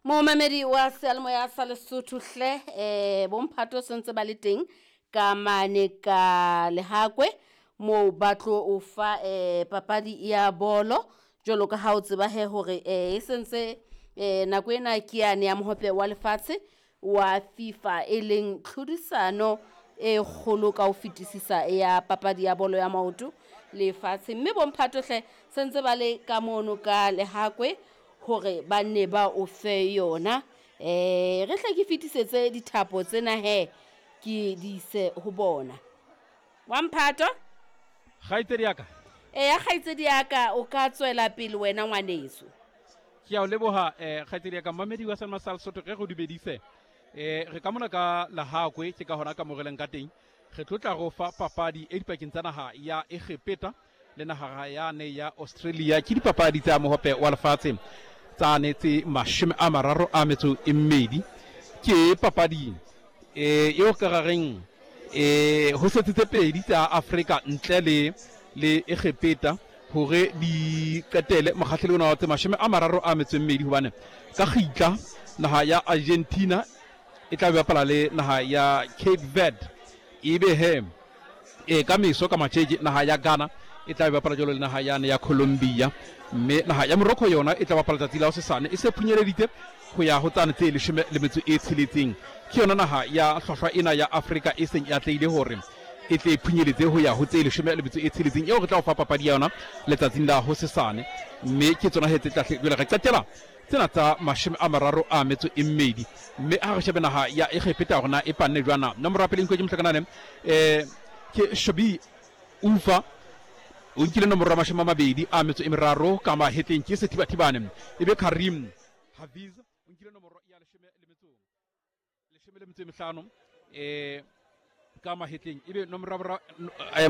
Momamedi wa seyalemoya sa Lesotho hle, bomphato sentse ba le teng ka mane ka Lehakwe moo ba tlo o fa papadi ya bolo jwalo ka ha o tseba he hore e sentse nako ena ke yane ya mohope wa lefatshe wa FIFA e leng tlhodisano e kgolo ka ho fetisisa ya papadi ya bolo ya maoto lefatshe. Mme bomphato hle sentse ba le ka mono ka Lehakwe hore ba nne ba o fe yona. Re hle ke fetisetse dithapo tsena he ke di ise ho bona. Wa mphato? Kgaitsedi ya ka. Eya kgaitsedi ya ka, o ka tswela pele wena ngwaneso. Ke a o leboha kgaitsedi ya ka, mmamedi wa Selma sa Lesotho, re go dumedise. Re ka mona ka Lehakwe, ke ka hona ka moreleng ka teng. Re tlo tla go fa papadi e dipakeng tsa naha ya Egepeta le naha yane ya Australia. Ke dipapadi tsa mohope wa lefatshe tsane tse 32. Ke papadi eo ka rareng ho setse tse pedi tsa Afrika ntle le le Egepeta hore di qetele mokgahlelo ona wa tse 32, hobane ka kgitla naha ya Argentina e tla bapala le naha ya Cape Verde, ebe he ka meso ka matjeke naha ya Ghana e tla bapala jwalo le naha yane ya Colombia, mme naha ya Morocco yona e tla bapala tsatsi la hosesane e se phunyeleditse ho ya ho tsane tse 16. Ke yona naha ya hlwahlwa ena ya Afrika e seng e atlehile hore e tle e phunyeletse ho ya ho tse 16 eo re tla o fa papadi ya yona letsatsing la hosesane. Mme ke tsona he tse tla jwale re qetela tsena tsa 32. Mme ha re shebe naha ya Egepeta hore na e panne jwana. Nomoro ya pele e nkuwe ke mohlakanane ke Shobi Ufa, o nkile nomoro ya 23 ka mahetleng ke Sethibathibane. Ebe Karim Hafiz o nkile nomoro ya 15 ka mahetleng. Ebe nomoro ya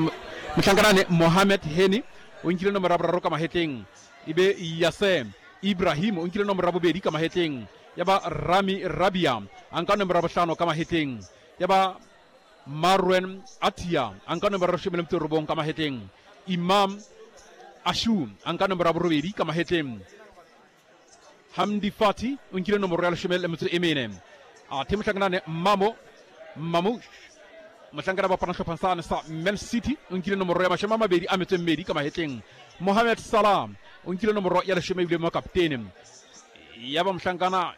mohlankanane Mohamed Heni o nkile nomoro ya 3 ka mahetleng. Ebe Yasem Ibrahim o nkile nomoro ya 2 ka mahetleng. Ya ba Rami Rabia a nka nomoro ya 5 ka mahetleng. Ya ba Marwen Atia a nka nomoro ya 19 ka mahetleng. Imam Ashu a nka nomoro ya 8 ka mahetleng. Hamdi Fati o nkile nomoro ya 14. Athe mohlankanane Mamo Mamouche mohlankana ba bapala sehlopheng sane sa Man City o nkile nomoro ya 22 ka mahetleng. Mohamed Salah o nkile nomoro ya 10 ebile mo kaptene. Ya ba mohlankana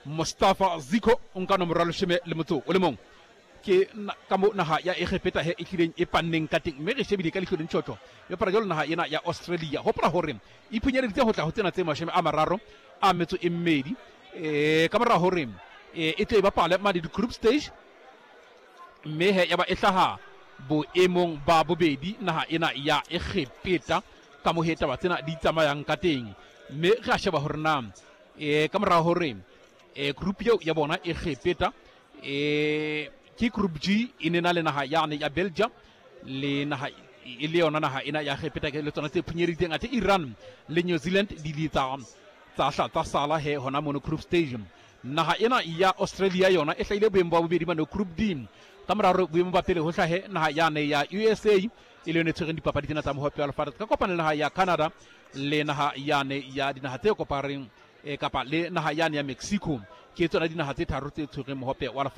Mustafa Ziko o nka nomoro ya 11. Ke ka mo naha ya Egepeta he e tlileng e panneng ka teng, mme re shebile ka leihlo le ntjhotjho e bapala jwalo naha ena ya Australia. Hopola hore e phunyeleditse ho tla ho tsena tse 32 ka mora hore e tle e bapale mane di-group stage, mme he ya ba e hlaha boemong ba bobedi naha ena ya Egepeta ka mo he taba tsena di tsamayang ka teng. Mme re a sheba hore na ka mora hore group eo ya bona Egepeta ke group G e ne na le naha yane ya Belgium le naha e le yona naha ena ya Egepeta ke le tsona tse phunyeditseng, athe Iran le New Zealand di le tsa tsa hla tsa sala he hona mono group stage. Naha ena ya Australia yona e hlahile boemo ba bobedi mane group D, ka mora hore boemo ba pele ho hlahe naha yane ya USA e le yone e tshwereng dipapadi tsena tsa mohope wa lefatshe ka kopano le naha ya Canada le naha yane ya dinaha tse kopareng kapa le naha yane ya Mexico. Ke tsona dinaha tse tharo tse tshwereng mohope wa lefatshe.